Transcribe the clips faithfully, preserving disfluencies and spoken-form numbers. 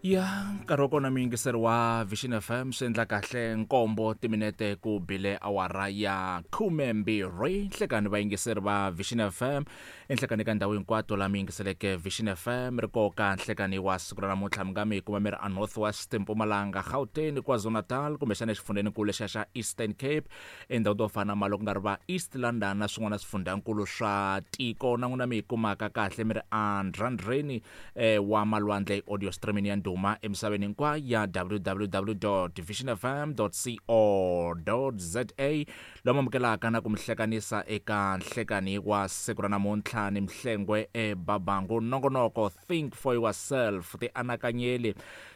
Ya nkarhi wa kona muyingiseri wa Vision F M swi endla kahle nkombo timinete ku bile awara ya khumembirhi nhlekani vayingiseri va Vision F M enhlekani ka ndhawu hinkwato laha mi yingiseleke Vision F M ri koka nhlekani wa siku ra namuntlha mi nga mi kuma mi ri a North West, Mpumalanga, Gauteng, KwaZulu-Natal kumbexana exifundzheninkulu lexiya xa Eastern Cape, endhawu to fana na Malo ku nga ri va East London na swin'wana swifundzhankulu swa tiko na n'wina mi yi kumaka kahle mi ri endrandreni eh, wa malwandle audio streaming ya ndhuma emisaveni hinkwayo ya w w w dot vision f m dot co dot z a lomu amukelaka na ku mi hlekanisa eka nhlekani wa siku ra namuntlha ni Mhlengwe eBabangu. Nongonoko Think for Yourself, tianakanyeli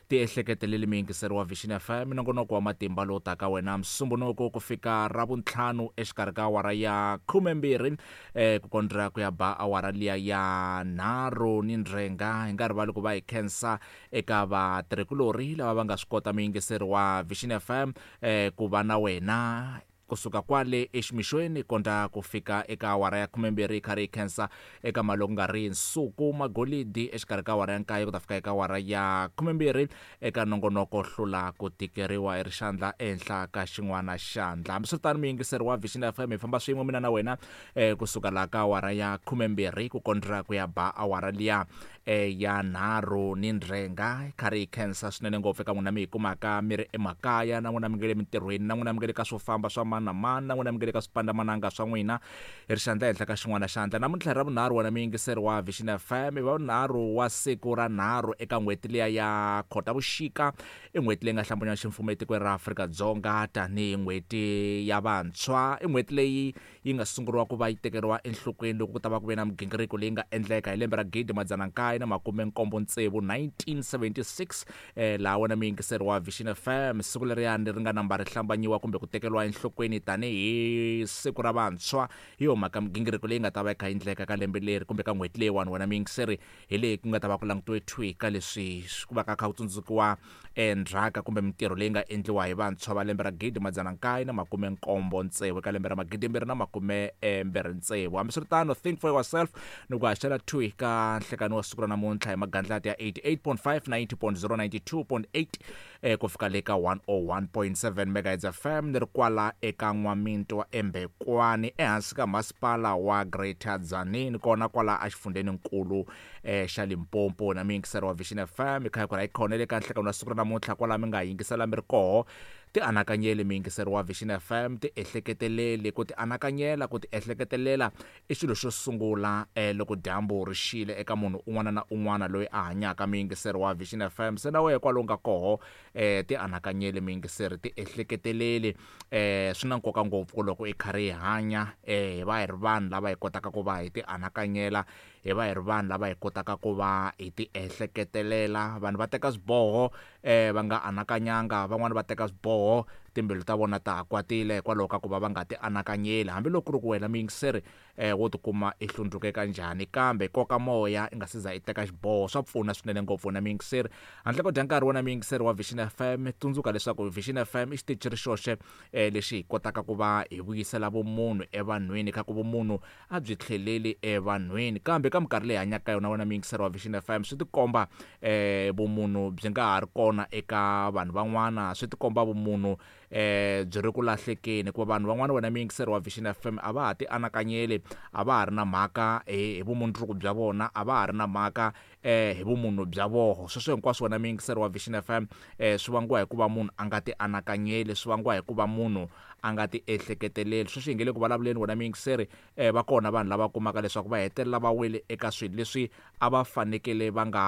tiehleketeleli miyingiseri wa Vision F M, nongonoko wa matimba lowu taka wena Musumbhunuku ku fika Ravuntlhanu exikarhi ka awara ya khumembirhi eh, ku kondza ku ya ba awara liya ya nharhu ni ndzhenga. Hi nga rivali ku va hi khensa eka vatirhikulorhi lava va nga swi kota muyingiseri wa Vision F M eh, ku va na wena kusuka kwale eximixweni kondza ku fika eka awara ya khumembirhi hi karhi hi khensa eka mali ku nga ri nsuku magolidi exikarhi ka awara ya nkaye ku ta fika eka awara ya khumembirhi eka nongonoko hlula ku tikeriwa hi rixandla ehenhla ka xin'wana xandla. Hambiswiritano muyingiseri wa Vision F M hi famba swin'we mina na wena eh, kusuka laha ka awara ya khumembirhi ku kondza ku ya ba awara liya eh, ya nharhu ni ndzhenga. Hi karhi hi khensa swinene ngopfu eka n'wina mi hi kumaka mi ri emakaya na n'wina mi nga le mintirhweni na n'wina mi nga le ka swo famba swa mani na mani na n'wina mi nga le ka swipandamananga swa n'wina hi rixandla ehenhla ka xin'wana xandla. Namuntlha ra vunharhu wena muyingiseri wa Vision F M i va vunharhu wa siku ra nharhu eka n'hweti liya ya Khotavuxika, i n'hweti leyi nga hlambanya ximfumo etikweni ra Afrika-Dzonga tanihi n'hweti ya vantshwa. I n'hweti leyi yi nga sunguriwa ku va yi tekeriwa enhlokweni loko ku ta va ku ve na migingiriko leyi nga endleka hi lembe ra gidi madzana nkaye na makume nkombo tsevu nineteen seventy-six eh, laha wena muyingiseri wa Vision F M siku leriyani ri nga namba ri hlambanyiwa kumbe ku tekeriwa enhlokweni tanihi siku ra vantshwa. Hi yo mhaka migingiriko leyi nga ta va yi kha yi endleka ka lembe leri kumbe ka n'hweti leyiwani wena muyingiseri hi leyi ku nga ta va ku langutiwe thwi ka leswi ku va ka kha ku tsundzukiwa endzhaka kumbe mintirho leyi nga endliwa hi vantshwa va lembe ra gidi madzana nkaye na makume nkombo tsevu eka lembe ra magidi mbirhi na makume mbirhi tsevu. Hambiswiritano Think for Yourself ni ku haxela thwi ka nhlekani wa siku ra namuntlha hi magandlati ya eighty-eight point five, ninety point zero, ninety-two point eight eh, ku fika le ka one oh one point seven megahertz F M ni ri kwala eka N'waminto eMbekwani ehansi ka masipala wa Greater Tzaneen kona kwala exifundzheninkulu eh, xa Limpopo. Na muyingiseri wa Vision F M hi kha hi ku ra hi khonele ka nhlekani wa siku ra namuntlha kwala mi nga yingisela mi ri koho. Tianakanyeli muyingiseri wa Vision F M, tiehleketeleli. Ku tianakanyela, ku tiehleketelela i xilo xo sungula eh, loko dyambu ri xile eka munhu un'wana na un'wana loyi a hanyaka muyingiseri wa Vision F M. Se na wehe kwalomu ka koho eh, tianakanyeli muyingiseri, tiehleketeleli. Eh, swi na nkoka ngopfu ku loko hi karhi hi hanya eh, hi va hi ri vanhu lava hi kotaka ku va hi tianakanyela, hi va hi ri vanhu lava hi kotaka ku va hi tiehleketelela. Vanhu va teka swiboho eh, va nga anakanyanga, van'wani va teka swiboho timbilu ta vona ta ha kwatile hikwalaho ka ku va va nga tianakanyeli. Hambiloko ku ri ku wena muyingiseri eh, wo tikuma i hlundzuke kanjhani, kambe koka moya i nga se za i teka xiboho swa pfuna swinene ngopfu wena muyingiseri. Handle ko dya nkarhi wena muyingiseri wa Vision F M, tsundzuka leswaku Vision F M i xitichi ri xoxe eh, lexi hi kotaka ku va hi vuyisela vumunhu evanhwini, kha ku vumunhu a byi tlheleli evanhwini. Kambe ka minkarhi leyi hanyaka ka yona wena muyingiseri wa Vision F M, swi tikomba eh, vumunhu byi nga ha ri kona eka vanhu van'wana, swi tikomba vumunhu eh, byi ri ku lahlekeni, hikuva vanhu van'wana wena muyingiseri wa Vision F M a va ha tianakanyeli, a va ha ri na mhaka hi, hi vumundzuku bya vona, a va ha ri na mhaka eh, hi vumunhu bya voho. Sweswo hinkwaswo wena muyingiseri wa Vision F M eh, swi vangiwa hi ku va munhu a nga tianakanyeli, swi vangiwa hi ku va munhu a nga tiehleketeleli. Sweswi hi nge le ku vulavuleni wena muyingiseri eh, va kona vanhu lava kumaka leswaku va hetelela va wele eka swilo leswi a va fanekele va nga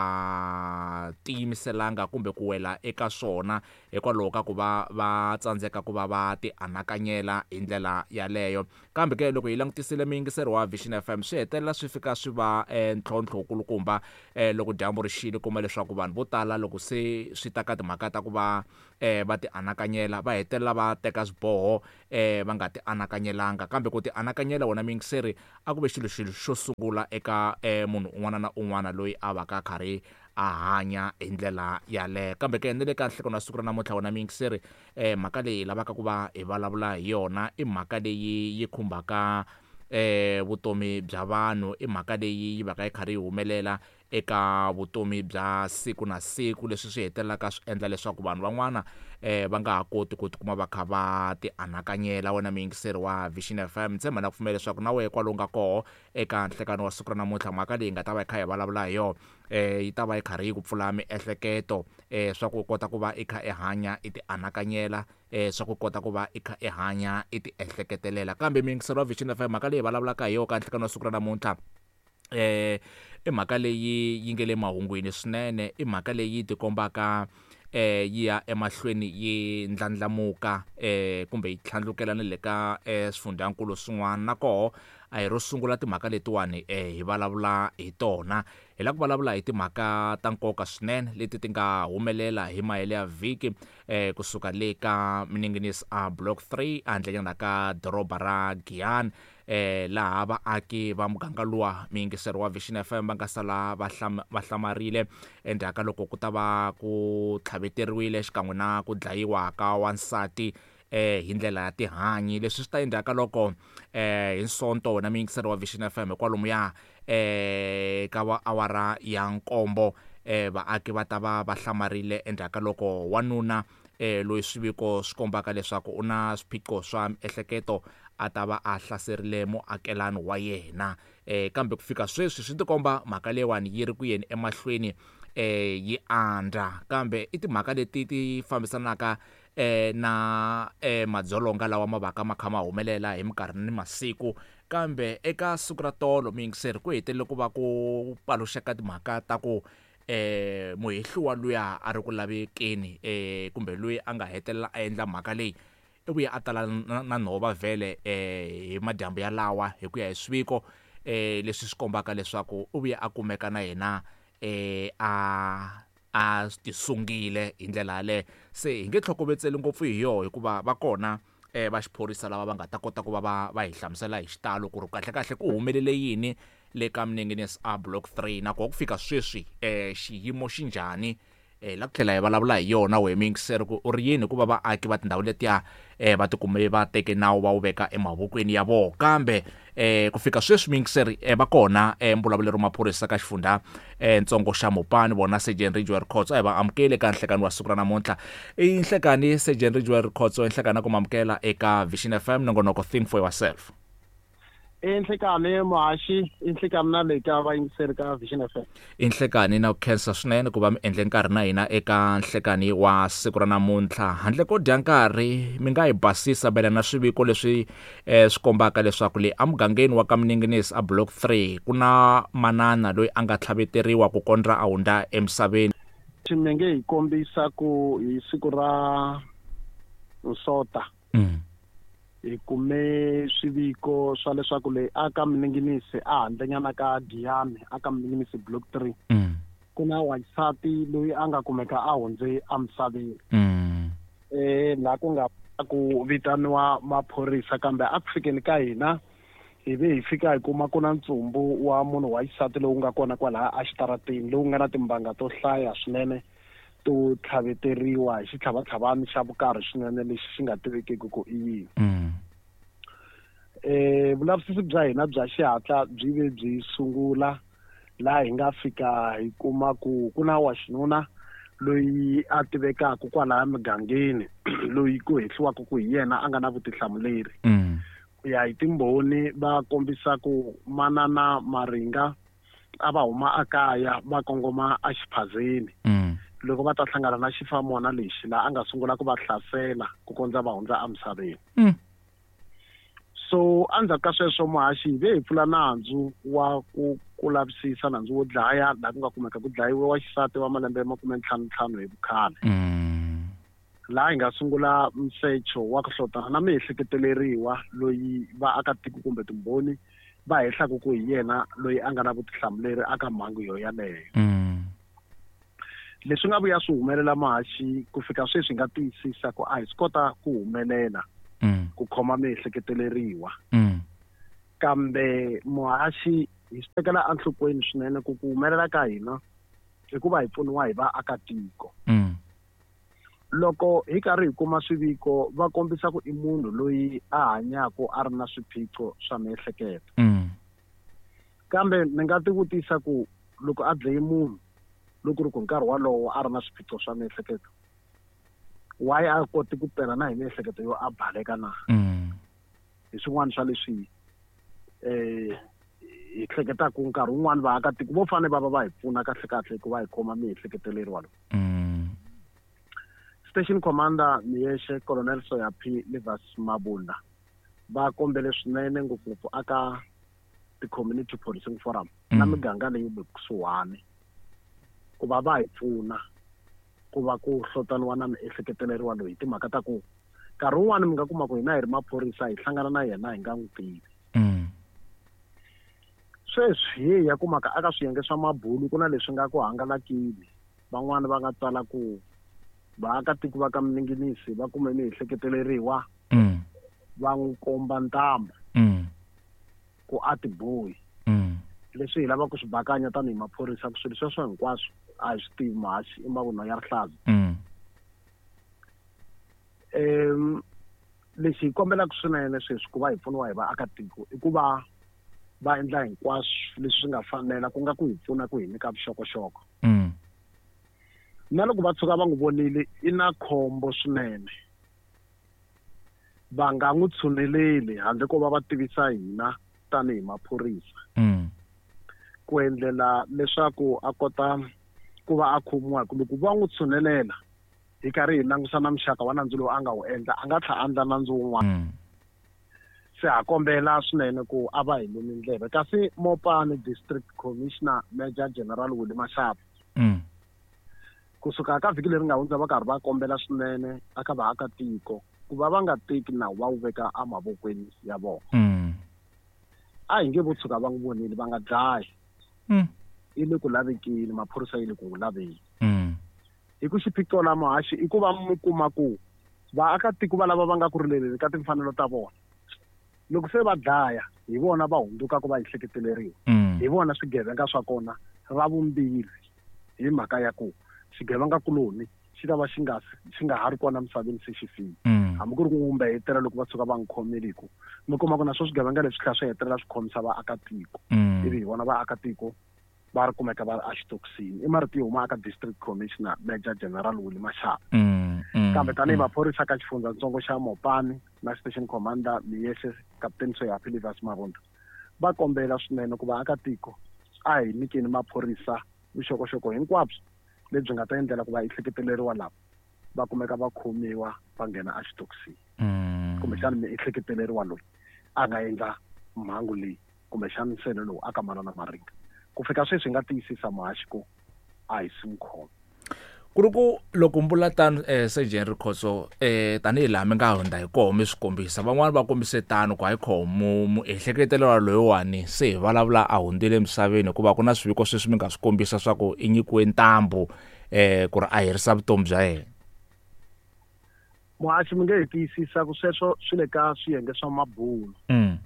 tiyimiselanga kumbe ku wela eka swona hikwalaho ka ku va va tsandzeka ku va va tianakanyela hi ndlela yaleyo. Kambe ke loko hi langutisile muyingiseri wa Vision F M, swi hetelela swi fika swi va eh, ntlhontlho wukulukumba eh, loko dyambu ri xile, kuma leswaku vanhu vo tala loko se swi ta ka timhaka ta ku va eh, va tianakanyela, va hetelela va teka swiboho eh, va nga tianakanyelanga. Kambe ku tianakanyela wena muyingiseri a ku ve xilo xilo xo sungula eka eh, munhu un'wana na un'wana loyi a va ka karhi a hanya hi ndlela yaleyo. Kambe ke ni le ka nhlekano wa siku ra namuntlha wena muyingiseri eh, mhaka leyi hi lavaka ku va hi vulavula hi yona i mhaka leyi yi khumbaka eh, vutomi bya vanhu, i mhaka leyi yi va ka yi karhi yi humelela eka vutomi bya siku na siku, leswi swi hetelelaka swi endla leswaku vanhu van'wana eh va nga ha koti ku tikuma va kha va ti anakanyela. Wena muyingiseri wa Vision F M, tshemba na ku pfumela leswaku na wehe kwalomu nga koho eka nhlekani wa siku ra namuntlha, mhaka leyi nga ta va yi kha hi vulavula hi yona eh yi ta va yi karhi yi ku pfula miehleketo eh swa ku kota ku va i kha i hanya i ti anakanyela, eh swa ku kota ku va i kha i hanya i ti ehleketelela. Kambe muyingiseri wa Vision F M, mhaka leyi vulavulaka hi yona ka nhlekani wa siku ra namuntlha eh i mhaka leyi yi nge le mahungwini swinene, i mhaka leyi tikombaka eh yi ya emahlweni yi ndlandlamuka eh kumbe yi tlhandlukela na le ka eh swifundzankulu swin'wana. Na koho a hi ro sungula timhaka letiwani eh hi vulavula hi tona, hi lava ku vulavula hi timhaka ta nkoka swinene leti ti nga humelela hi mahele ya vhiki eh kusuka le ka Minengenisi a Block three ehandlenyana ka doroba ra Giyani, eh laha vaaki va muganga luwa muyingiseri wa Vision F M va nga sala va va hlamarile endzhaku ka loko ku ta va ku tlhaveteriwile xikan'we na ku dlayiwa ka wansati eh hi ndlela ya tihanyi. Leswi swi ta endzhaku ka loko eh hi Sonto wena muyingiseri wa Vision F M hikwalomu ya eh ka va awara ya nkombo eh vaaki va ta va va hlamarile endzhaku ka loko wanuna eh loyi swiviko swi kombaka leswaku u na swiphiqo swa miehleketo a ta va a hlaserile muakelani wa yena. Eh kambe ku fika sweswi swi tikomba mhaka leyiwani yi ri ku yeni emahlweni eh yi andza, kambe i timhaka leti ti fambisanaka eh na eh madzolonga lawa ma vaka ma kha ma humelela hi minkarhi ni masiku. Kambe eka siku ra tolo muyingiseri ku hetelele ku va ku paluxeka timhaka ta ku eh muhehliwa luya a ri ku lavekeni eh kumbe loyi a nga hetelela a endla mhaka leyi i vuye a tala na nhova vhele eh hi madyambu ya lawa hi ku ya hi swiviko eh leswi swi kombaka leswaku u vuye a kumeka na yena eh a a tisungile hi ndlela yaleyo. Se hi nge tlhokovetseli ngopfu hi yoho hikuva va kona eh va xiphorisa lava va nga ta kota ku va va va hi hlamusela hi xitalo ku ri kahle kahle ku humelele yini le ka Minengenisi a Block three, na ku fika sweswi eh xiyimo xi njhani. Eh la ku tlhela hi vulavula hi yona we muyingiseri ku u ri yini hikuva vaaki va tindhawu letiya eh va tikume va teke nawu va wu veka emavokweni ya vona. Kambe eh ku fika sweswi muyingiseri eh va kona eh mbulavuleri wa maphorisa ka xifundza eh ntsongo xa Mopani, vona Sergeant Ridgewell Khotso. A hi va amukele eka nhlekani wa siku ra namuntlha. I nhlekani Sergeant Ridgewell Khotso, nhlekani ku mamukela eka Vision F M, nongonoko Think for Yourself. Inhlekani muhaxi, inhlekani na le ka vayingiseri ka Vision F M. Inhlekani na ku khensa swinene ku va mi endle nkarhi na hina eka nhlekani wa siku ra namuntlha. Handle ko dya nkarhi, mi nga hi basisa mayelana na swiviko leswi eh swi kombaka leswaku le emugangeni wa ka Minengenisi a Block three ku na manana loyi a nga tlhaveteriwa ku kondza a hundza emisaveni. Mi nge hi kombisa ku hi siku ra Nsota mm. hi kume swiviko swa leswaku leyi aka Minengenisi a handlenyana ka Giyani aka Minengenisi Block three mm. ku na wansati loyi a nga kumeka a hundze emisaveni mm. eh laha ku nga ku vitaniwa maphorisa, kambe a ku fikeni ka hina hi ve hi fika hi kuma ku na ntsumbu wa munhu wa xisati lowu nga kona kwalaha exitarateni lowu nga na timbanga to hlaya swinene to tlhaveteriwa hi xitlhavatlhavani xa vukarhi swinene lexi xi nga tivekeki ku i yini. Mm. Eh vulavisisi bya hina bya xihatla byi ve byi sungula laha hi nga fika hi kuma ku ku na wa xinuna loyi a tivekaka kwalaya mugangeni loyi ku hehliwaka ku hi yena a nga na vutihlamuleri. Mm. Ku ya hi timbhoni va kombisa ku manana Maringa a va huma akaya va kongoma exiphazeni. Mm. Loko va ta hlangana na xifamona lexi laha a nga sungula ku va hlasela ku kondza va hundza emisaveni. Mm. So endzhaku ka sweswo muhaxi hi ve hi pfula nandzu wa ku ku lavisisa nandzu wo dlaya laha ku nga kumeka ku dlayiwe wa xisati wa malembe ya makume ntlhanu ntlhanu hi vukhale. Mm. Laha hi nga sungula nsecho wa ku hlotana na miehleketeleriwa loyi vaakatiko kumbe timbhoni va hehlaka ku hi yena loyi a nga na vutihlamuleri aka mhangu yo yaleyo. Mm. Leswi nga vuya swi humelela muhaxi ku fika sweswi hi nga tiyisisa ku a hi swi kota ku humelela mm. ku khoma miehleketeleriwa. Mm. Kambe muhaxi hi swi tekela enhlokweni swinene ku ku humelela ka hina hikuva hi pfuniwa hi vaakatiko. Mm. Loko hi karhi hi kuma swiviko va kombisa ku i munhu loyi a hanyaka a ri na swiphiqo swa miehleketo. Mm. Kambe ni nga tivutisa ku loko a dlaye munhu loko ri ku nkarhi wolowo a ri na swiphiqo swa miehleketo why a koti ku pela na hi miehleketo yo a baleka na mm. hi swin'wana swa leswi eh hi hleketaka nkarhi wun'wani vaakatiko vo fanele va va va hi pfuna kahle kahle ku va hi khoma miehleketeleriwa lowu mm. Station Commander Miyexe Colonel Soyapi Livas Mabunda va kombele swinene ngopfungopfu aka ti-community policing forum Mm. na miganga leyi le kusuhani ku va va hi pfuna ku va ku hlotaniwa na miehleketeleriwa loyi hi timhaka ta ku nkarhi wun'wani mi nga kuma ku hina hi ri maphorisa hi hlangana na yena hi nga n'wi tivi Mm. sweswi hi hi ya kumaka aka swiyenge swa mabulu ku na leswi nga ku hangalakile van'wani va nga tsala ku vaakatiko va ka Miningimisi va kume miehleketeleriwa Mm. va n'wi komba ntambu Mm. ku a tibohi Mm. leswi hi lavaka ku swi bakanya tanihi maphorisa ku swilo sweswo hinkwaswo a hi swi tivi muhaxi i mavunwa ya rihlaza Mm. um lexi hi kombelaka swinene sweswi ku va hi pfuniwa hi vaakatiko i ku va va endla hinkwaswo leswi swi nga fanela ku nga ku hi pfuna ku hi nyika vuxokoxoko Mm. na loko va tshuka va n'wi vonile i na khombo swinene va nga n'wi tshuneleli handle ko va va tivisa hina tanihi maphorisa Mm. ku endlela leswaku a kota ku va a khomiwa hi ku loko va n'wi tshunelela hi karhi hi langusa na muxaka wa nandzu lowu a nga wu endla a nga tlha a endla nandzu wun'wana Mm. se ha kombela swinene ku a va hi lumi ndleve kasi Mopani District Commissioner Major General Willie Mashaba Mm. kusuka ka vhiki leri nga hundza va karhi va kombela swinene aka vaakatiko ku va va nga teki nawu va wu veka emavokweni ya vona Mm. a hi nge vo tshuka va n'wi vonile va nga dlayi Mm. i le ku lavekeni maphorisa yi le ku n'wi laveni Mm. hi ku xiphiqo la muhaxi i ku va mi kuma ku vaakatiko va lava va nga ku rileleni ka timfanelo ta vona loko se va dlaya hi vona va hundzukaka va ehleketeleriwa Mm. hi vona swigevenga swa kona ra vumbirhi hi mhaka ya ku xigevenga kuloni xi ta va xi nga xi nga ha ri kona misaveni se xi file Mm. hambi ku ri ku n'wi hetelela loko va tshuka va n'wi khomile hi ku mi kuma ku na swo swigevenga leswi tlhela swi hetelela swi khomisa vaakatiko Mm. ivi hi vona vaakatiko va ri kumeka va ri exitokisini i marito yo huma aka District Commissioner Major General Willie Mashaba Mm. Mm. kambe tanihi maphorisa ka xifundzatsongo xa Mopani na Station Commander Miyexe Captain Soyapi Livas Mabunda va kombela swinene ku vaakatiko a hi nyikeni maphorisa vuxokoxoko hinkwabyo lebyi nga ta endlela ku va ehleketeleriwa lava va kumeka va khomiwa va nghena exitokisini Mm. kumbexana miehleketeleriwa loyi a nga endla mhangu leyi kumbexana nsele lowu aka manana Maringa ku fika sweswi hi nga tiyisisa muhaxi ku a hi si n'wi khoma ku ri ku loko mbula tano eh Sergeant Rikhotso eh tanihi laha mi nga hundza hi koho mi swi kombisa van'wani va kombise tano ku hayi khomo muehleketelelwa loyiwani se hi vulavula a hundzile emisaveni hikuva ku na swiviko sweswi mi nga swi kombisa swa ku i nyikiwe ntambu eh ku ri a herisa vutomi bya yena muhaxi mi nge hi tiyisisa ku sweswo swi le ka swiyenge swa mabulu mm.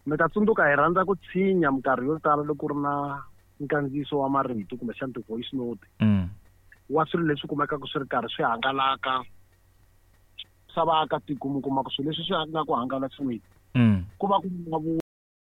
mi ta tsundzuka hi rhandza ku tshinya minkarhi yo tala loko ku ri na nkandziyiso wa marito kumbexana ti-voice note Mm. wa swilo leswi kumekaka swi ri karhi swi hangalaka swa vaakatiko mi kuma ku swilo leswi swi nga ku hangalasiweni Mm. ku va ku nga